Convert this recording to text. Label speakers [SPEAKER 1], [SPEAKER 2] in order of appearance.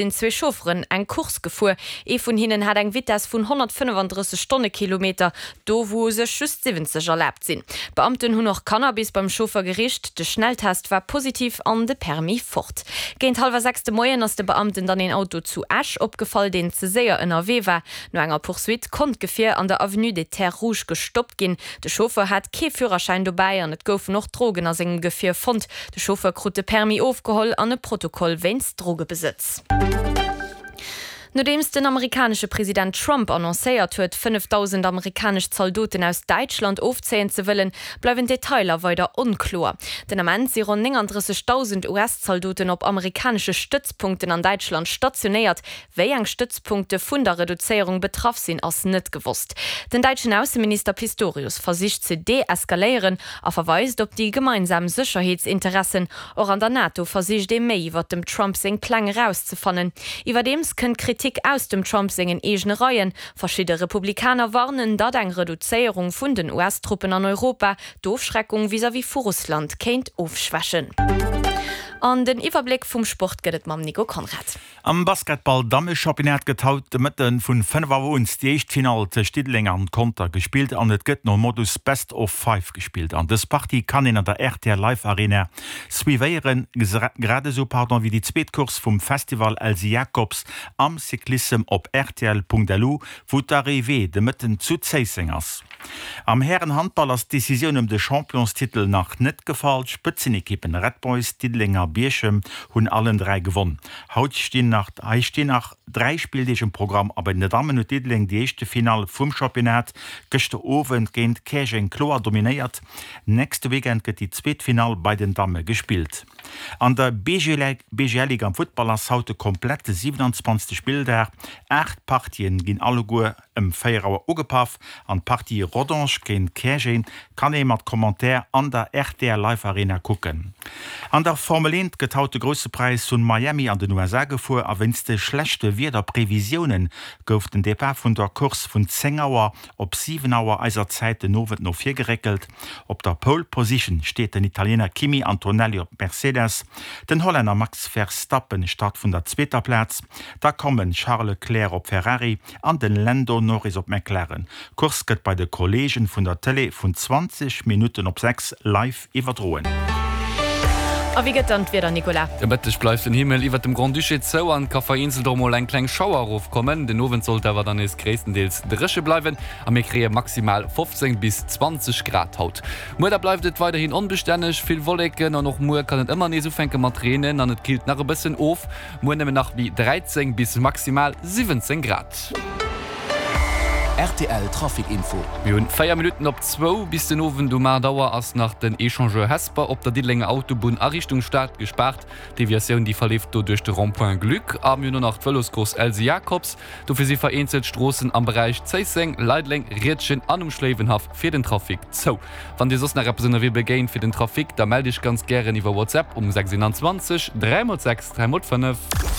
[SPEAKER 1] Sinn zwee Chaufferen eng Course gefuer. Ee vun hinnen hat eng Vitess vun 135 Stonnekilometer, do wou u sech just 70 erlaabt sinn. D'Beamten hunn och Cannabis beim Chauffer gericht. De Schnelltest war positiv an de Permis fort. Géint hallwer 6 de Moien ass de Beamten dann een Auto zu Esch opgefall, deen ze séier ënnerwee war. No enger Poursuite konnt d'Gefier an der Avenue des Terres Rouges gestoppt ginn. De Chauffeur hat kee Führerschäin dobäi an et goufen och Drogen a sengem Gefier fonnt. De Chauffeur krut de Permis ofgeholl an e Protokoll wéinst Drogebesëtz. Nodeems den amerikanesche President Trump annoncéiert huet, 5.000 amerikanesch Zaldoten aus Däitschland ofzéien ze wëllen, bleiwen d'Detailer weider onkloer. Den Ament si ronn 39.000 US-Zaldoten op amerikanesche Stëtzpunkten an Däitschland stationéiert. Wéi eng Stëtzpunkte vun der Reduzéierung betraff sinn, ass net gewosst. Den däitschen Ausseminister Pistorius versicht ze deeskaléieren a verweist op déi gemeinsam Sécherheetsinteressen. Och an der NATO versicht ee méi iwwer dem Trump seng Pläng erauszefannen. Iwwerdeems kënnt Kritik aus dem Trump sengen eegene Reien. Verschidde Republikaner warnen, datt eng Reduzéierung vun den US-Truppen an Europa d'Ofschreckung vis-à-vis vu Russland kéint ofschwächen. An den Iwwerbléck vum Sport gëtt et mam Nico Conrad.
[SPEAKER 2] Am Basketball-Dammechampionnat gëtt haut de Mëtte vun 5 Auer un déi éischt Finall tëscht Diddeleng an Conter gespillt an et gëtt nom Modus Best of Five gespillt. An dës Partie kann een an der rtl Live Arena suivéieren, grad esou pardon wéi déi zweet Course vum Festival Elsy Jacobs am Cyclissem op rtl.lu, wou d'Arrivée de Mëtten zu Zéisseng ass. Am Hären-Handball ass d'Decisioun ëm de Championstitel nach net gefall. D'Spëtzenekippen Red Boys, Diddeleng a Bierchem hunn allen 3 gewonn. Haut stinn nach hei stinn nach 3 Spilldeeg um Programm a bei den Dammen huet Diddeleng déi éischte Finall vum Championnat gëschter Owend géint Käerjeng kloer dominéiert. Nächste Weekend gëtt déi zweet Finall bei den Damme gespillt. An der BGL-Ligue am Futtball ass haut de komplette 27. Spilldag. 8 Partien ginn alleguer Ëm 4 Auer ugepaff an d'Partie Rodange géint Käerjeng kann ee mat Commentaire an der rtl Live Arena kucken. An der Formel 1 gëtt haut de Grousse Präis vun Miami an den USA gefuer a wéinst de schlechte Wiederprevisiounen gouf den Depart vun der Course vun 10 Auer op 7 Auer eiser Zäit den Owend no vir geréckelt. Op der Pole Position steet den Italiener Kimi Antonelli op Mercedes, den Hollänner Max Verstappen start vun der zweeter Plaz, da kommen Charles Leclerc op Ferrari an den Lando Norris op McLaren. D'Course gëtt bei de Kolleegen vun der Tëlee vun 20 Minutten op 6 live iwwerdroen.
[SPEAKER 1] A wéi gëtt dann d'Wieder, Nicolas?
[SPEAKER 3] De Mëtteg bleift den Himmel iwwert dem Grand-Duché zou an et ka vereenzelt och mol eng kleng Schauer erofkommen. Den Owend sollt awer dann nees gréisstendeels dréche bleiwen a mir kréie maximal 15 bis 20 Grad haut. Muer da bleift et weiderhin onbestänneg, vill Wolleken an och muer kann et ëmmer nees ufänke mat reenen an et killt nach e bëssen of. Muer nëmmen nach méi 13 bis maximal 17 Grad.
[SPEAKER 4] Rtl Trafic Info.
[SPEAKER 3] Mir hunn 4 Minutten op zwou. Bis den Owend um 8 Auer ass nach den Echangeur Hesper op der Diddelenger Autobunn a Richtung Stad gespaart. D'Deviatioun déi verleeft do duerch de Rond-point Gluck. A mir hunn och nach d'Vëloscourse Elsy Jacobs. Dofir si vereenzelt Stroossen am Beräich Zéisseng, Leideleng, Riedgen an um Schléiwenhaff fir den Trafic zou. Wann dir soss nach eppes ënnerwee begéint fir den Trafic, da mellt iech ganz gären iwwer WhatsApp um 6 21 3 x 6 3 x 5.